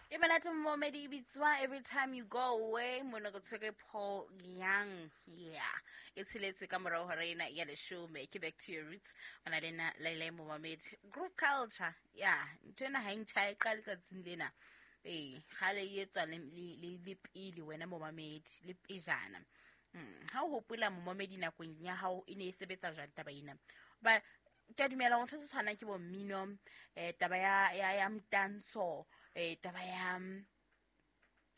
E monate momedi e bitswa Every Time You Go Away, mono go tshwere Paul Young. Yeah, e tsheletse ka morao hora ena ya leshome. Ke Back to Your Roots, o na le nna Laila Momamedi. Group culture, yeah, ntho ena ha e ntjha, e qale tsatsing lena. Ee, kgale e etswa le pele wena momamedi, le pejana. Ha o hopola momamedi nakong ya hao e ne e sebetsa jwang taba ena? Ba ke a dumela gore ntho tse tshwanang ke bo mmino, taba ya mtantsho, taba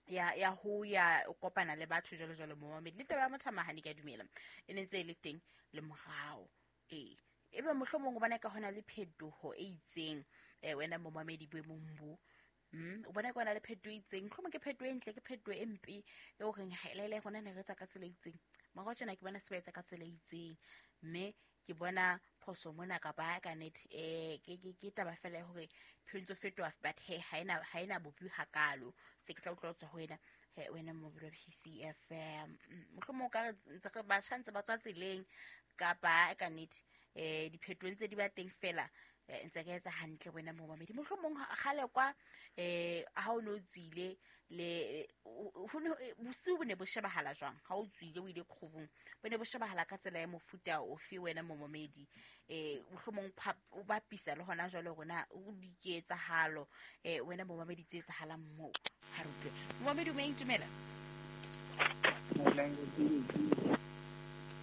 ya ho ya o kopana le batho jwalo jwalo momamedi, le taba ya mothamahane ke a dumela e ne ntse e le teng le morao. Ee, ebe mohlomong o bona ka hona le phetoho e itseng, wena momamedi boemong bo. O bona ka hona le phetoho e itseng, mohlomong ke phetoho e ntle, ke phetoho e mpe e o reng ha ele rona ne re etsa ka tsela e itseng, morao tjena ke bona se ba etsa ka tsela e itseng, mme ke bona phoso mona kapa ka nnete, ke taba fela ya hore phelo ntse fetoha, but he ha ena bopi hakalo. Se ke tla utlwa ho tswa ho wena, he wena momamedi wa PCFM. Mohlomong o ka re ntse re batjha ntse ba tswa tseleng kapa ka nnete, diphetoho ntse di ba teng fela, ntse re etsa hantle wena momamedi. Mohlomong kgale kwa, ha o ne o tswile le bosiu bo ne bo shebahala jwang ha o tswile o ile kgobong, bo ne bo shebahala ka tsela ya mofuta ofe wena momamedi? Mohlomong o bapisa le hona jwale rona o diketsahalo, wena momamedi tse etsahalang moo. Ha re utlwe. Momamedi o moyeng, dumela.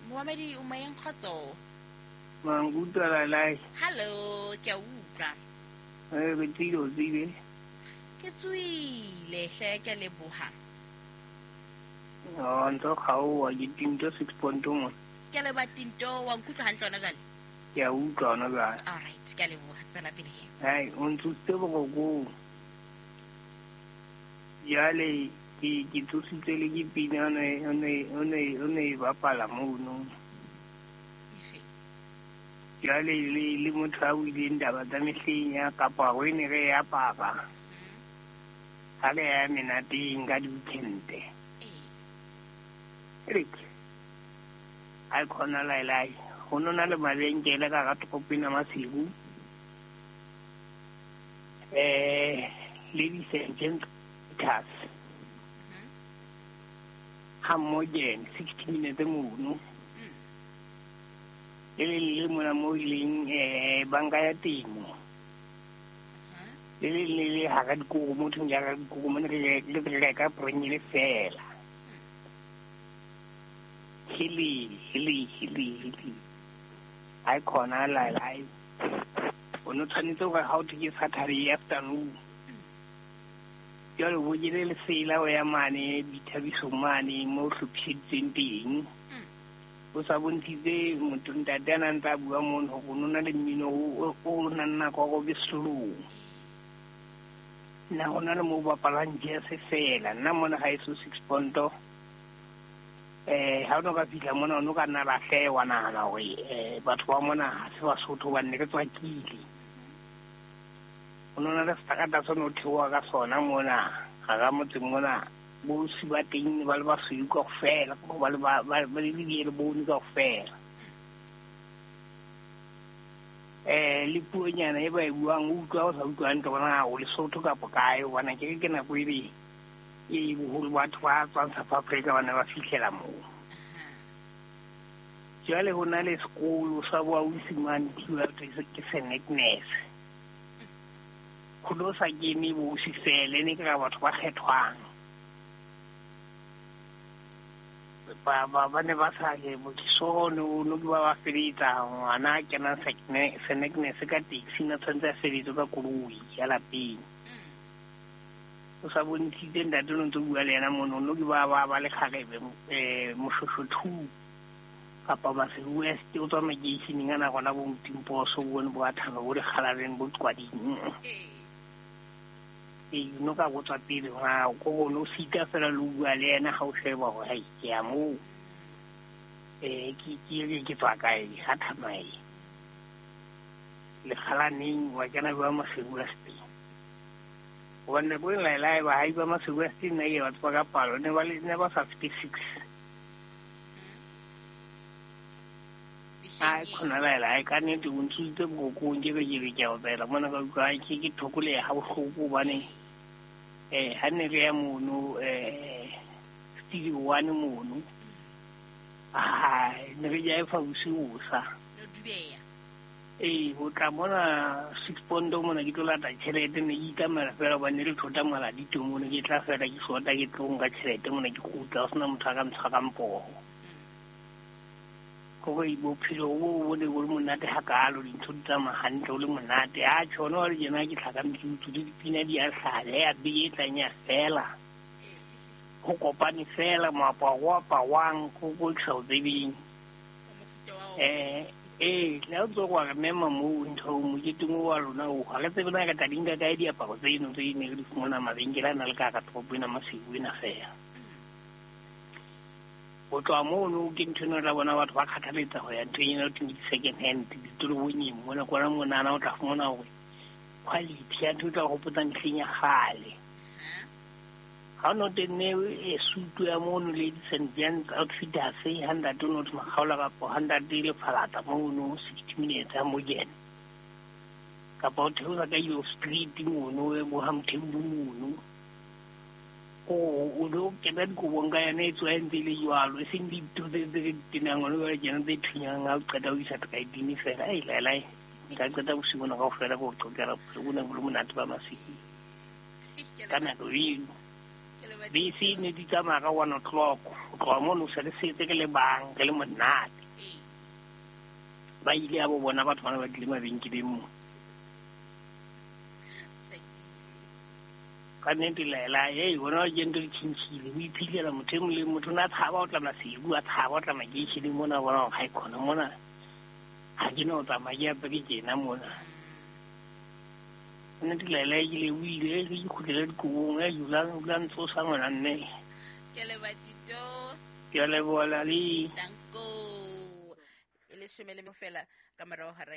Momamedi o moyeng, kgotso. Mangutlwa la lae. Hello, ke a utlwa. Re tswile, o tswile. Ke tswile hle, ke a leboha. Oh, ntho kgaoha, ke Tinto 6.1. Ke a leboha Tinto, wa nkutlwa hantle hona jwale? Ke a utlwa hona jwale. All right, ke a leboha, tswela pele he. Hai, o ntsositse borokong. Jwale ke tsositswe le ke pina o ne e bapala mono. Jwale le motho a buileng taba tsa mehleng ya kaparo e ne re e apara. Ha re ya menateng ka di-weekend. Eric, ha e khona laelai. Ho no na le mabenkele ka hara toropo ena Maseru. Ladies and gentlemen, ha Morgan 60 minutes mono. Le le le mona mo e leng, banka ya temo. Le le le le hara dikoro, motho ya hara dikoro, mona re le reka prengele fela. Hele, hele, hele, hele. Ha e khona la la. O no tshwanetse hore ha o thwe ke Saturday afternoon. Jwale bo jele lesela o ya mane boithabisong mane mo hlophiseditsweng teng. O sa bontshitse motho ntate a nang tla bua mono hore o no na le mmino o nang nako ya hore o be slow. Nna ho na le moo bapalang jazz fela. Nna mona ha eso 6 ponto. Ha o no ka fihla mona, o no ka nna lahleha wa nahana hore, batho ba mona ha se Basotho hobane ne re tswakile. Ho no na le seterata se no theoha ka sona mona, hara motse mona. Bosi ba teng ba le basweu kaofela, ba le ba, ba, ba le di bone kaofela. Le puonyana e ba e buang, o utlwa o sa utlwa hantle hore na o Lesotho kapa kae, hobane ke re ke nako e le e boholo batho ba tswang South Africa ba ne ba fihlela moo. Jwale ho na le sekolo sa boausi mane Thiba, ke Saint Agnes. Ho no sa kene boausi fela, e ne ke ra batho ba kgethwang. Ba ne ba sa ke bokisoro, no, no ke ba ba feletsa ngwana a kenang Saint Agnes ka taxi, na tshwanetse a feletswe ka koloi ya lapeng. O sa bontshitse ntate o ntse o bua le yena mono, no ke ba ba ba le kgarebe, Moshosho 2 kapa Maseru West, o tswa makeisheneng ana rona bo Motimposo, bo bone bo Athano, bo Dikgalaleng, bo Qwading. Ee, no ka botswa pele, ha ko go no sita fela le bua le yena ha o sheba hore hai, ke ya moo. Ke tswa kae, ha thamae. Lekgalaneng, wa kena bua Maseru West. Hobane nako e laela e ba ha iba Maseru West nna ke batho ba ka palo, ne ba le, ne ba sa fete 6. Ai, khona laela, ai, ka nnete o ntsositse borokong, ke be ke re ke a opela mona ka utlwa, ai, ke thokoleha ha bohloko hobane Ha ne re ya mono studio 1 mono. Ah, ne re jaefa bosiu sa. No dubeya. Ho tla mona 6 pondo mona ke tlo lata tjhelete ne ke ikamela fela hobane re thota maladito mona ke tla fela ke sota ke tlo nka tjhelete mona ke kgutla ho sena motho a ka ntshwarang poho. Hore bophelo bo ne bo le monate hakalo, dintho di tsamaya hantle ho le monate. A tjho hona jwale tjena ke tlhaka metsotso le dipina di a hlaha, ya beke e tlang ya fela. Ho kopane fela moaparo o aparwang ko ke sa o tsebeng. Le ha o ntso wa re mema moo ntho moketeng wa lona oo, ha re tsebe na re tla di nka kae diaparo tseno tse ne re di fumana mabenkele a na le ka hara toropo ena Maseru ena fela. Ho tloha mono ke ntho ena o tla bona batho ba kgathaletsa ho ya nthong ena ho thweng ke di-second hand ditoropong mona kwana monana o tla fumana hore quality ya ntho e tla o hopotsa mehleng ya kgale. Ha o no tenne sutu ya mono ladies and gents outfitters ha ntate o no thwe Makgaola kapa ha ntate Lefalata mono 60 minutes ha Morgan. Kapa o theosa ka Euro Street mono bo ha Mthembu mono. O lo kena dikobong ka yona e tswa e ntse e le jwalo, e seng dintho tse re di tenang hona jwale tjena tse thunyang ha o qeta ho isa tridini fela. Ei laelae, nka qeta bosiu bona kaofela ke o qoqela bophelo bo ne bo le monate ba Maseru. Ka nako eno bese ne di tsamaya ka 1 o'clock, ho tloha mono se re setse re le bang, re le monate. Ba ile ya bo bona batho bana ba tlile mabenkeleng mo. Ka nnete laela, hona ke ntho di tjhentjhile, o iphilela motho e mong le motho o ne a tshaba ho tla Maseru, a tshaba ho tla makeisheneng mona, a bona hore ha e khona mona ha ke no tsamaya ke apere tjena mona. Nnete laela ke lebohile, ke kgutlele dikobong, dula ntsosa ngwana mme. Ke a leboha Tito. Ke a leboha Lali. Danko. E leshome le fela ka morao hora.